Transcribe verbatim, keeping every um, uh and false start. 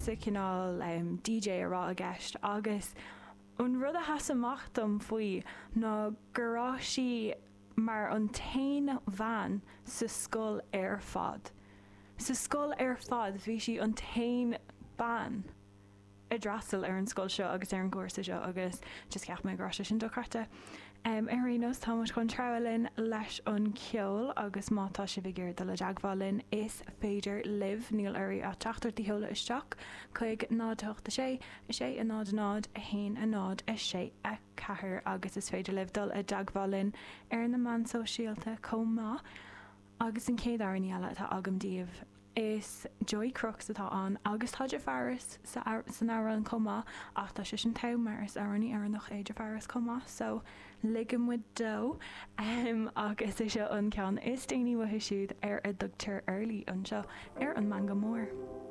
píosa cineál um, DJ a raibh i gceist agus an rud a sheas amach dom faoi ná go raibh sí mar an t-aon bhean sa scoil ar fad. Sa scoil ar fad bhí sí an t-aon bean a d'fhreastail ar an scoil seo agus ar an gcúrsa seo agus just cheap mé go raibh sé sin dochreidte. Um, ar aon nós tá muid chun treabhadh linn leis an ceol agus má tá sibh ag iarraidh dul i dteagmháil linn is féidir libh níl oraibh ach teachtaireacht a sheoladh isteach chuig náid a hocht a sé, a sé a náid a náid, a haon a náid, a sé a ceathair agus is féidir libh dul i dteagmháil linn ar na meáin sóisialta chomh maith. Agus an chéad amhrán eile atá agam daoibh is Joy Crooks atá ann agus tá Jafaris san amhrán chomh maith ach tá sé sin togha mar is amhránaí Éireannach é Jafaris chomh maith so ligeann muid dó um, agus is seo an ceann is déanaí uathu siúd ar a dtugtar Early anseo ar an Meangadh Mór.